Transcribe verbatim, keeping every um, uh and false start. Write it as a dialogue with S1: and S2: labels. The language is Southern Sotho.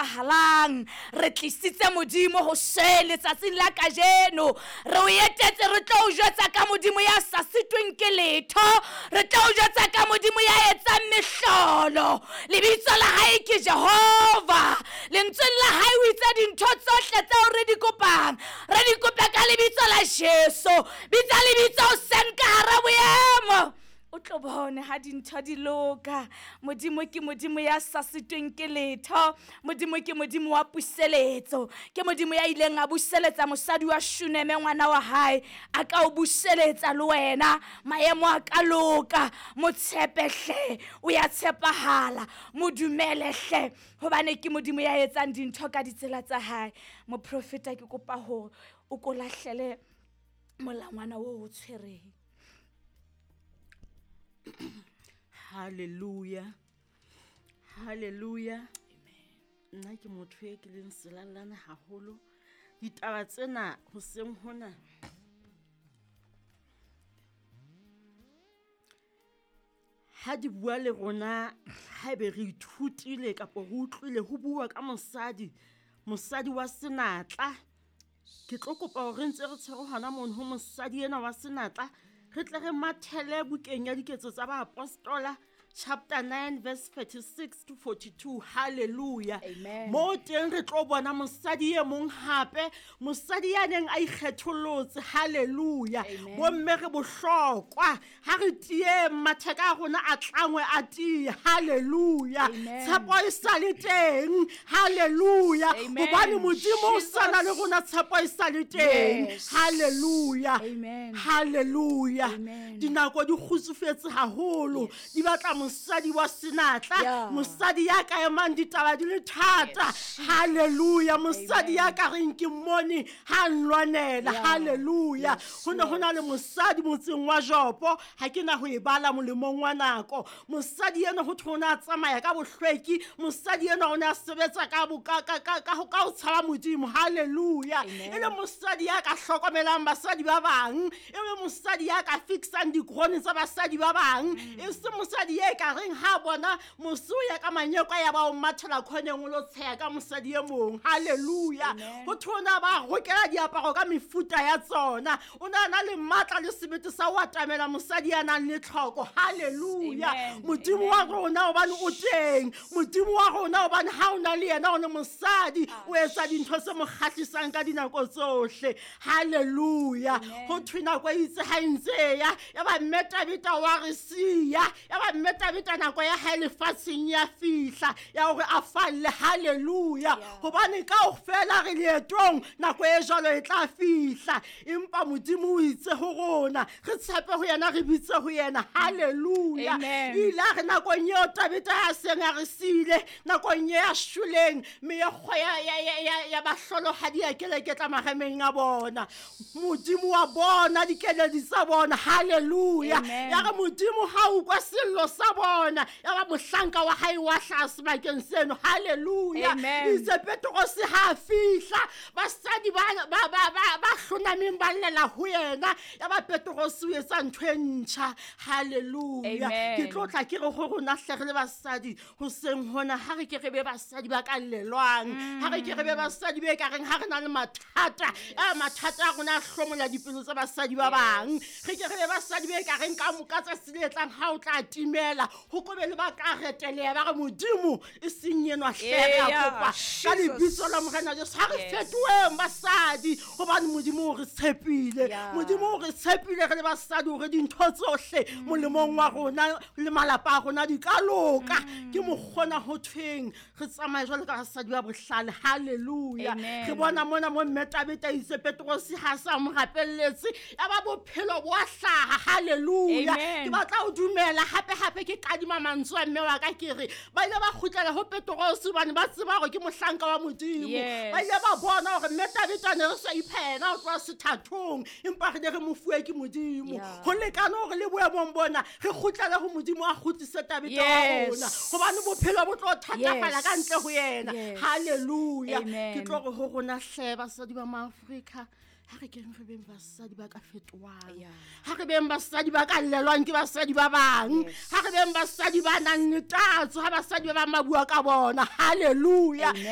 S1: tshepahalang. Re tlisitse Modimo hoseng letsatsing la kajeno. Re o etetse, re tlo o jwetsa ka Modimo ya sa sitweng ke letho. Re tlo o jwetsa ka Modimo ya etsang mehlolo. Lebitso la hae ke Jehova. Lentsweng la hae o itse dintho tsohle tseo re di kopang, re di kope ka lebitso la Jesu. Bitsa lebitso hoseng ka hara boemo, o tlo bone ha dintho di loka. Modimo ke Modimo ya sa sitweng ke letho. Modimo ke Modimo wa puseletso. Ke Modimo ya ileng a buseletsa mosadi wa Shuneme ngwana wa hae. A ka o buseletsa le wena. Maemo a ka loka. Mo tshepe hle, o ya tshepahala. Mo dumele hle, hobane ke Modimo ya etsang dintho ka ditsela tsa hae. Moprofeta, ke kopa hore o ko lahlele molangwana oo o tshwereng.
S2: Hallelujah. Hallelujah. Nna ke motho e ke leng selalane haholo. Ditaba tsena hoseng hona ha di bua le rona, haebe re ithutile kapa re utlwile ho bua ka mosadi, mosadi wa senatla. Ke tlo kopa hore re ntse re tshwere hona mono ho mosadi ena wa senatla, re tle re mathele bukeng ya Diketso tsa Baapostola chapter nine verse thirty-six to forty-two. Hallelujah.
S1: Amen.
S2: Mo teng re tlo bona mosadi e mong hape, mosadi ya neng a ikgetholotse. Hallelujah.
S1: Amen.
S2: Bomme re bohlokwa, ha re tieng matheka a rona a tlangwe a tiye. Hallelujah.
S1: Amen.
S2: Tshepo e sa le teng. Hallelujah.
S1: Amen.
S2: Hobane Modimo o sa na le
S1: Jesus.
S2: rona, tshepo e sa le teng.
S1: Yes.
S2: Hallelujah.
S1: Amen.
S2: Hallelujah.
S1: Amen.
S2: Dinako di kgutsufetse haholo.
S1: Yes.
S2: Di batla mosadi wa senatla,
S1: Yeah.
S2: mosadi ya ka emang ditaba di le thata.
S1: Yes.
S2: Hallelujah. Mosadi ya
S1: Amen.
S2: ka reng ke mmone ha nlwanela.
S1: Yeah.
S2: Hallelujah.
S1: Yes,
S2: Ho ne ho na le
S1: Lord.
S2: mosadi motseng wa Jopo, ha ke na ho e bala molemong wa nako. Mosadi ena ho thwe o ne a tsamaya ka bohlweki, mosadi ena o ne a sebetsa ka bo-, ka, ka, ka, ka ho, ka ho tshaba Modimo. Hallelujah.
S1: Amen.
S2: E le mosadi ya ka hlokomelang basadi ba bang, e le mosadi ya ka fixang dikrone tsa basadi ba bang,
S1: Mm.
S2: e se mosadi e ka reng ha bona mose o ya ka manyeko ya ba o mathela khoneng o lo tsheya ka mosadi e mong. Hallelujah.
S1: Amen.
S2: Ho thwe o ne a ba rokela diaparo ka mefuta ya tsona. O ne a na le matla le sebete sa ho atamela mosadi ya nang le tlhoko. Hallelujah.
S1: Amen.
S2: Modimo wa
S1: Amen.
S2: rona hobane o teng. Modimo wa rona hobane ha o na le yena o le mosadi,
S1: Ah,
S2: o etsa dintho tse mo kgahlisang ka dinako tsohle. Hallelujah.
S1: Amen.
S2: Ho thwe nako e itse ha e ntse e ya, ya ba mme Tabitha wa re siya, ya ba mme Tabitha nako ya hae lefatsheng ya fihla ya hore a falle. Hallelujah.
S1: Yeah.
S2: Hobane kaofela re leetong, nako e jwalo e tla fihla. Empa Modimo o itse ho rona, re tshepe ho yena, re bitse ho yena. Hallelujah.
S1: Amen.
S2: Ile a re nakong eo Tabitha a seng a re siile, nakong e a shweleng, meokgo ya, ya, ya, ya, ya bahlolohadi ya keleketla marameng a bona. Modimo wa bona dikeledi tsa bona. Hallelujah.
S1: Amen.
S2: Ya re Modimo ha o utlwa sello sa bona, ya ba mohlanka wa hae wa hlaha sebakeng seno. Hallelujah.
S1: Amen.
S2: Itse Petrose ha a fihla, basadi ba, ba, ba, ba, ba hlonameng ba llela ho yena. Ya ba Petrose o etsa ntho e ntjha. Hallelujah.
S1: Amen.
S2: Ke tlo tla ke re ho rona hle re le basadi hoseng hona, ha re ke re be basadi ba ka llelwang, ha re ke re be basadi be ka reng ha re na le mathata, a mathata a rona a hlomola dipelo tsa basadi ba bang. Re ke re be basadi be ka reng ka mo-, ka tsatsi le tlang ha o tla timela, ho ko be le ba ka reteleha ba re Modimo e seng enwa hle, re a
S1: Yeah,
S2: kopa. Ka
S1: Jesus.
S2: lebitso la Morena Jesu, ha re
S1: Yes.
S2: fetoheng basadi, hobane Modimo o re tshepile.
S1: Yeah.
S2: Modimo o re tshepile re le basadi hore dintho tsohle
S1: Mm.
S2: molemong wa rona le malapa a rona di ka loka.
S1: Mm.
S2: Ke mokgona ho thweng re tsamaye jwalo ka basadi ba bohlale. Hallelujah.
S1: Amen.
S2: Re bona mona mo mme Tabitha itse Petrose ha sa mo rapelletse, ya ba bophelo bo a hlaha. Hallelujah.
S1: Amen.
S2: Ke batla ho dumela hape hape ke kadima mantswe a mme wa ka, ke re ba ile ba kgutlela ho Petrose hobane ba tseba hore ke mohlanka wa Modimo.
S1: Yes.
S2: Ba ile ba bona hore mme Tabitha ne re sa ipha yena ho tloha sethathong, empa re ne re mo fuwe ke Modimo.
S1: Yeah.
S2: Ho lekane hore le boemong bona re kgutlele ho Modimo a kgutlise Tabitha wa
S1: Yes.
S2: rona, hobane bophelo bo tlo thatafala ka ntle ho yena.
S1: Yes.
S2: Hallelujah.
S1: Amen.
S2: Ke tlo re ho rona hle basadi ba Maafrika, ha re keng re beng basadi ba ka fetohang.
S1: Yeah.
S2: Ha re beng basadi ba ka llelwang ke basadi ba bang.
S1: Yes.
S2: Ha re beng basadi ba nang le tatso, ha basadi ba bang ba bua ka bona. Hallelujah.
S1: Amen.